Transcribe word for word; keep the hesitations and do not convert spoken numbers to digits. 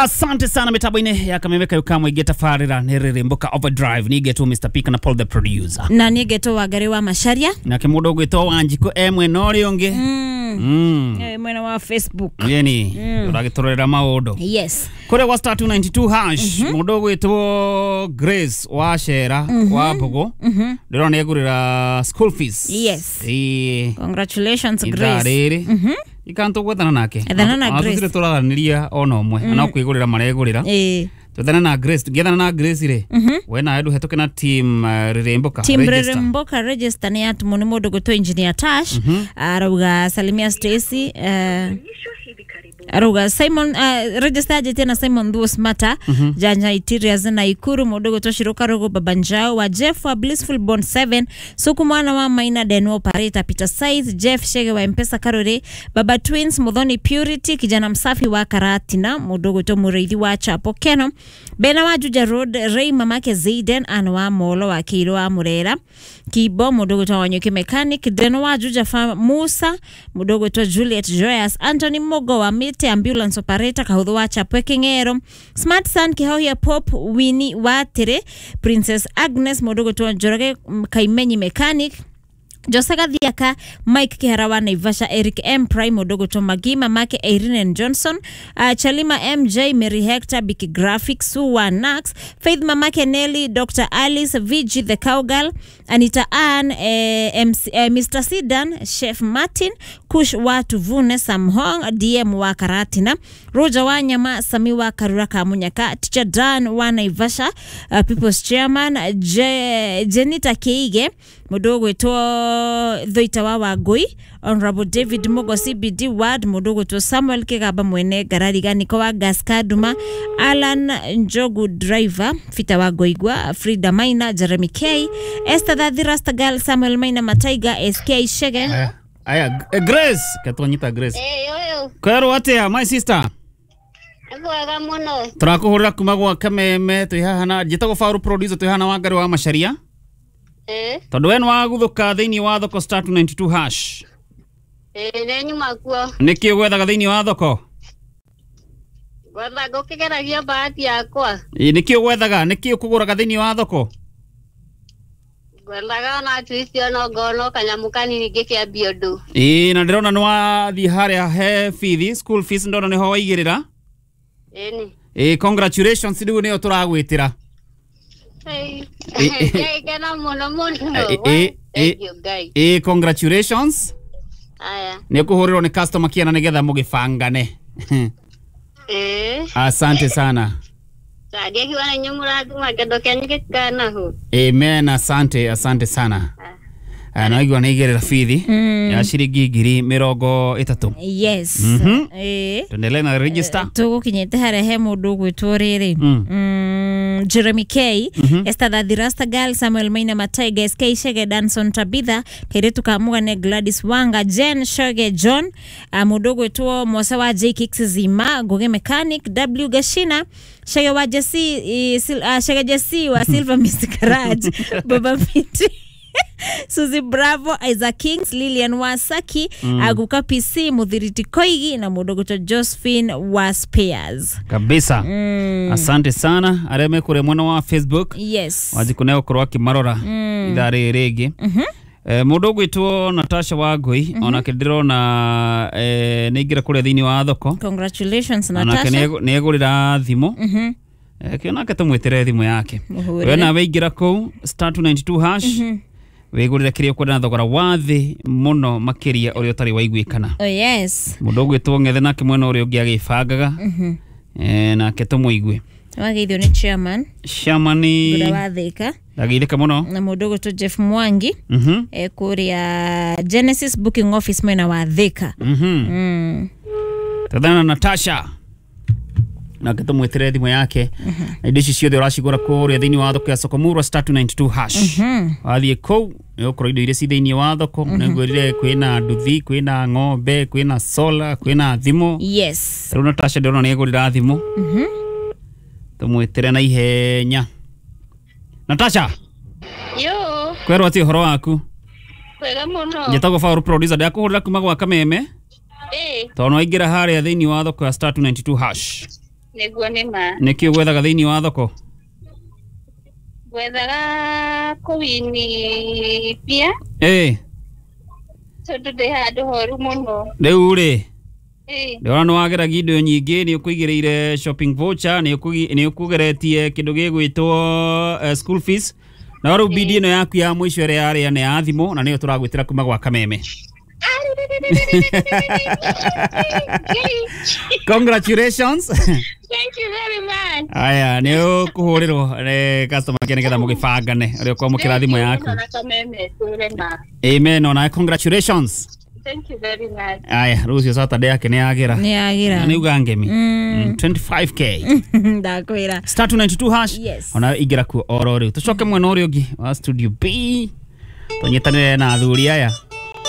Asante sana mitambo-inĩ ya Kameme kayo kamwe igĩtabarĩra nĩ Rĩrĩmbũka Overdrive nĩngetwo Mister Pika na Paul the producer. Na nĩngetwo Wangari wa Macharia. Nake mũndũ ũgwĩtwo Wanjikũ e mwena ũrĩa ũngĩ. Mm. Mm. Eh, mwena wa Facebook. Yeni ũragĩtũrorera maũndũ. Yes. Kũrĩa gwa star two ninety-two hash mũndũ ũgwĩtwo Grace wa Cera wa Mbogo ndĩrona nĩegũrĩra school fees. Yes. Ĩĩ. Congratulations Ithaa Grace. rĩrĩ ikantu gwethana nake. Ethana na Ona Grace. tũtirĩ tũraranĩria ona ũmwe ona kwĩgũrĩra maregũrĩra. Eh. Twethana na Grace, tũngĩethana na Grace rĩ, we nawe ndũhetũke na team uh, Rĩrĩmbũka Team register. Rĩrĩmbũka register nĩ yatumwo nĩ mũndũ gwĩtwo Engineer Tash. Arauga salimia Stacy, eh, arauga Simon, uh, register anjĩtie na Simon Thuo Smata, Janja Interiors na Ikuru, mũndũ gwĩtwo Shiruka Rugu, Baba Njau wa Jeff wa Blissful Bond seven, Suku mwana wa Maina Den operator Peter Size, Jeff Shege wa Mpesa Karore, Baba Twins, Muthoni Purity, kijana msafi wa Karatina, mũndũ gwĩtwo Mũrĩithi wa Chapo Keno, Bena wa Juja Road, Ray mamake Zayden, Ann wa Molo wa Kiro wa Murera, Kibo, mũndũ gwĩtwo Wanyuki Mechanic, Deno wa Juja Farm, Musa, mũndũ gwĩtwo Juliet Joyous, Anthony Mogo wa Mite Ambulance Operator, Kahuthu wa Chapwe King'ero, Smart Son Kihohia Pop, Winnie wa Tere, Princess Agnes, mũndũ gwĩtwo Njoroge Kaimenyi Mechanic, Jose Gathiaka, Mike Kihara wa Naivasha, Eric M Prime, mũndũ gwĩtwo Magi, mamake Irene Johnson, uh, Chalima M J, Mary Hector, Biki Graphics, Sue wa Nax, Faith mamake Nelly, Doctor Alice, V G the Cowgirl, Anita Ann, eh, M C, eh, Mister Sidan, Chef Martin, Kush wa Tuvune, Sam Hong, D M wa Karatina, Roger wa Nyama, Sami wa Karura Kamunyaka, Teacher Dan wa Naivasha, uh, People's Chairman, Je, Jenita Keige, mũndũ gwĩtwo Thoita wa Wangui, Honorable David Mugo C B D Ward, mũndũ gwĩtwo Samuel Kigamba mwene Ngarariga, Niko wa Gaskaduma, Alan Njogu driver, Fita wa Goigwa, Frida Maina, Jeremy K, Esther Thathi Rastagal, Samuel Maina Mataiga, S K Shege. Aya, aya, eh, Grace, ketwanyita Grace. Eh, oyo, Kwerwo atia my sister? mwega muno. Tũrakũhũrĩra kuma gwa Kameme twĩ haha na njĩtagwo Faru producer twĩ haha na Wangari wa Macharia. Eh, Tondũ we nĩwagũthũka thĩinĩ wa thoko star two ninety-two hash. eh, nĩ nyuma kuo. Nĩkĩ ũgwethaga thĩinĩ wa thoko? Gwetha ngũkĩgeragia bahati yakwa. Ĩ, nĩkĩ ũgwethaga? Nĩkĩ ũkũgũraga thĩinĩ wa thoko? Ngwethaga ona at least ona ngona kanyamũ kanini ngĩkĩambia ũndũ. Ĩ, na ndĩrona nĩwathiĩ harĩa he bithi, school fees ndona nĩho waigĩrĩra. Ĩni. Ĩ, congratulations rĩu nĩyo tũragwĩtĩra. Hey. Eh, eh. Ngĩkena mũno mũno. Eh, eh, eh. Thank you Ngai. Ĩ, congratulations. Aya. Nĩ ũkũhũrĩrwo nĩ customer care na nĩgetha mũgĩbangane. Eh, Asante sana. ndiakiuga nĩ inyuĩ mũrathima kĩndũ kĩanyu gĩtikanahu. Amen, asante, asante sana. Ah, naigua nĩ igĩrĩra bithi ya ciringi ngiri mĩrongo ĩtatũ. Yes. Mhm. Eh. Tuendelee na register. Tũgũkinyĩte harĩa he mũndũ ũgwĩtwo rĩrĩ. Mm. Mm, Jeremy K, Esther Thathi Rastagal, Samuel Maina Mataiga, S K Shege, Danson Tabitha, Kairetu Kamugane, Gladys Wanga, Jen Shoge John, uh, mũndũ ũgwĩtwo Mose wa J Kicks Zima, Ngugi Mechanic, W Gashina, Shege wa Jesse, eh, Sil, uh, Shege Jesse wa Silver Mist Garage, Baba Miti, Suzy Bravo, Isaac Kings, Lilian Wasaki, mm. Aguka P C, Muthiriti Koigi na mũndũ ũgwĩtwo Josephine wa Spears. Kabisa. Mm. Asante sana arĩa me kũrĩa mwena wa Facebook. Yes. Wanjikũ nĩ egũkorwo akĩmarora ithaa rĩrĩ rĩngĩ. Eh, mũndũ ũgwĩtwo Natasha Wangui onake ndĩrona eh, nĩ aingĩra kũrĩa thĩinĩ wa thoko. Congratulations Onake Natasha. nĩ egũrĩra thimũ. Mhm. Eh, kĩo nake tũmwĩtĩre thimũ yake. Mũhũrĩre. We nawe ingĩra kũu star two ninety-two hash wĩgũrĩre kĩrĩa ũkwenda na thogora wa thĩ mũno makĩria ũrĩa ũtarĩ waiguĩkana. Oh yes. Mũndũ ũgwĩtwo Ng'ethe nake mwena ũrĩa ũngĩ agĩbangaga. Eh, nake tũmũigue. Wageithio nĩ chairman Shamani Ngũra wa Thika ndageithĩka mũno. na mũndũ ũgwĩtwo Jeff Mwangi Mhm. eh, kũrĩa Genesis Booking Office mwena wa Thika. Mhm. Mm. Tũthana na Natasha nake tũmwĩtĩre thimũ yake na indo ici ciothe ũracigũra kũrĩa thĩinĩ wa thoko ya Sokomurwa star two ninety-two hash. Wathiĩ kũu nĩ ũgũkora indo iria ci thĩinĩ wa thoko. Nĩngwĩrire kwĩna nduthi, kwĩna ng'ombe, kwĩna solar, kwĩna thimũ. Yes. Rĩu Natasha ndĩrona nĩ egũrĩra thimũ. Tũmwĩtĩre na ihenya. Natasha, Yo, kwerwo atĩ ũhoro waku? wega mũno. Njĩtagwo Faru producer, ndakũhũrĩra kuma gwa Kameme. Eh, Tondũ nĩwaingĩra harĩa thĩinĩ wa thoko ya star two ninety-two hash. Nĩguo nĩ ma. Nĩkĩ ũgwethaga thĩinĩ wa thoko? Gwethaga kũwini mbia Ĩ, tondũ ndĩ handũ horu mũno. rĩu rĩ, Ĩ, ndĩrona nĩ wageragia indo nyingĩ, nĩ ũkũigĩrĩire shopping voucher, nĩ ũkũgi- nĩ ũkũgeretie kĩndũ gĩgwĩtwo eh, school fees. Na rĩu bidi ĩno yaku ya mũico ĩrĩa yarĩa nĩ ya thimũ na nĩyo tũragwĩtĩra kuma gwa Kameme. Congratulations. Thank you very much. Aya, nĩ ũkũhũrĩrwo nĩ customer care nĩgetha mũgĩbangane ũrĩa ũkwamũkĩra thimũ yaku. Na Kameme tũre ma. Amen, onawe congratulations. Thank you very much. Aya, rũciũ Saturday yake nĩ yagĩra. Nĩ yagĩra. Nĩ uga ngemi. Mm, twenty-five k. Ndakwĩra. Star two ninety-two hash. Yes. Ona ingĩra kuo oro rĩu. Tũcoke mwena ũrĩa ũngĩ wa studio B. Tũnyitanĩre na athuri aya.